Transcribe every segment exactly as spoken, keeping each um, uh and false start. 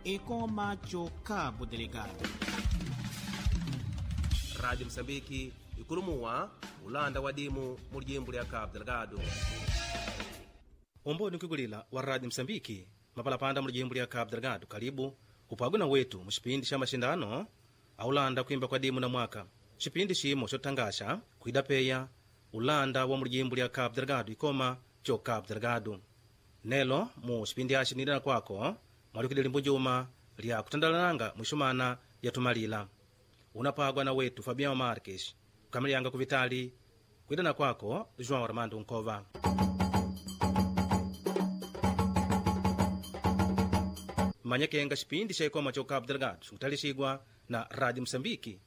Ekoma cho Cabo Delgado. Rádio Moçambique ikulumuwa ulanda wa dimu mu lijimbo lya Cabo Delgado. Umboni nkwigulila wa Rádio Moçambique mapalapanda mu lijimbo lya Cabo Delgado kalibu upagwe na wetu mu xipindi xa maxindano aulanda kuimba kwa dimu na mwaka. Xipindi ximo xotangaxa kuida peya ulanda wa mu lijimbo lya Cabo Delgado ikoma cho Cabo Delgado. Nelo mu xipindi axi nidana kwako mwalikidili mbunjuma lya kutandalananga mwixumana ya tumalila. Unapagwa na wetu Fabian Marques kukamiliyanga kuvitali kuidana kwako João Armando Nkova. Manyekenga xipindi xa ikoma cho Cabo Delgado xikutalisigwa na Rádio Moçambique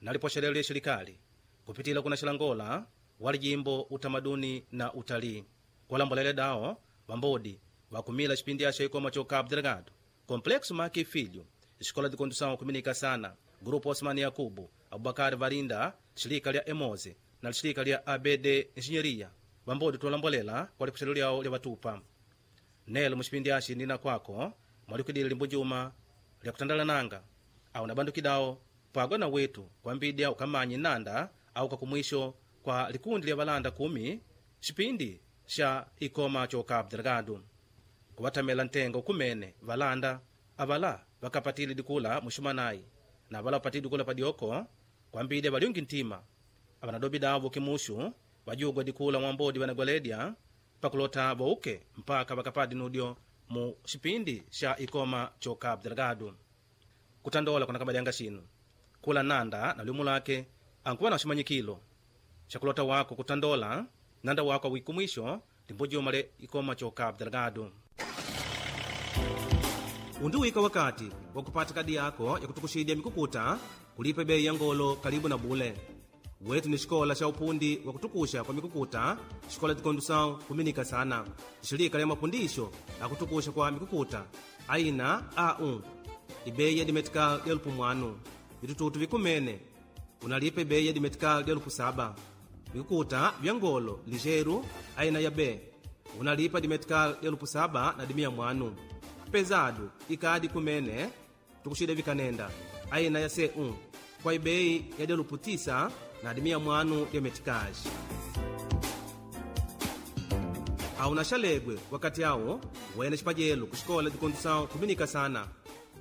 nalipoxelele xelikali kupitila kuna xilangola wa lijimbo utamaduni na utalii kulambolele dao vambodi vakumila xipindi axa ikoma cho Cabo Delgado Complexo Maki Filho Escola de Condução Comunica Sana Grupo Osmani Yakubu Abubakar Varinda xilika lya Emoze na lixilika lya A B D Engenharia vambodi tulambolela kwa lipoxelo lyawo lya vatupa nelo muxipindi axi nina kwako mwalikidile limbunjuma lya kutandalananga au na bandukidawo pagwa na wetu kwambidya ukamanyi nanda au kakumwisho kwa likundi lya valanda kumi xipindi xa ikoma cho Cabo Delgado kuvatamela ntenga ukumene valanda avala vakapatile dikula muxumanayi na avala vapatile dikula padioko kwambidya valyungi ntima avanadobi davo kimuxu vajugwa dikula mwambodi vanagwaledya pakulota vouke mpaka vakapadi nudyo mu xipindi xa ikoma cho Cabo Delgado. Kutandola kunakabadyanga xinu kula nanda na liumu lake ankuva na ximanyikilo xakulota wako kutandola nanda wako awikumwisho limbujuma le ikoma cho Cabo Delgado. Undiwika wakati wa kupata kadi yako ya kutukuxidya mikukuta kulipa bei ya ngolo kalibu na bule. Wetu ni xikola xa upundi wa kutukuxa kwa mikukuta xikola de condução kuminika sana xilika lya mapundixo akutukuxa kwa mikukuta aina A um ibeyi ya dimetical elupu mwanu vitututu vikumene unalipa ibeyi ya dimetical elupu saba vikukuta vya ngolo ligeiro aina ya B unalipa dimetical elupu saba na dimia mwanu pesado ikadi kumene tukuxida vikanenda aina ya C um kwa ibeyi ya delupu tisa na dimia mwanu ya meticage. Auna xalegwe wakati awo wene xipajelo ku xikola de condução kuminika sana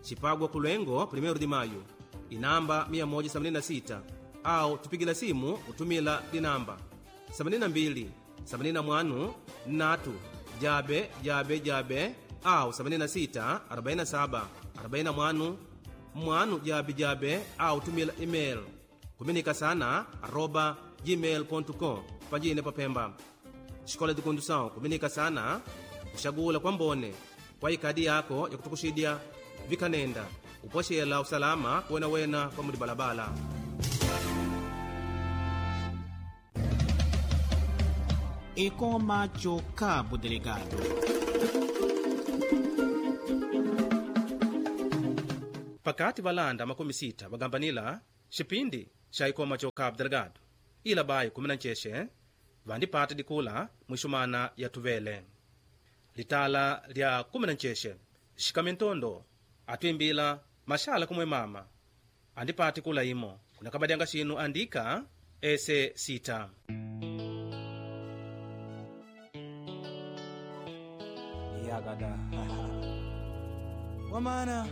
xipagwa ku Luengo primeiro de Maio inamba mia moja sabini na sita au tupigila simu utumila dinamba sabini na mbili sabini na mwanu natu jabe jabe jabe au sabini na sita arobaini na saba arobaini na mwanu mwanu jabe jabe au tumila email kuminika sana arroba gmail ponto com pajine papemba. Xikola de condução kuminika sana kuxagula kwa mbone kwa ikadi yako ya kutukuxidya vikanenda upoxela usalama kuwenawena kwa mulibalabala. Ekoma cho Cabo Delgado. Pakati valanda makumi sita vagambanila xipindi xa ikoma cho Cabo Delgado ila bayi kumi na ncexe vandipata dikula mwixumana ya tuvele. Litala lya kumi na ncexe xikamentondo atuimbila maxala kumwe mama andipati kula imo kunakabadyanga xinu andika ese sita. Yakada wamana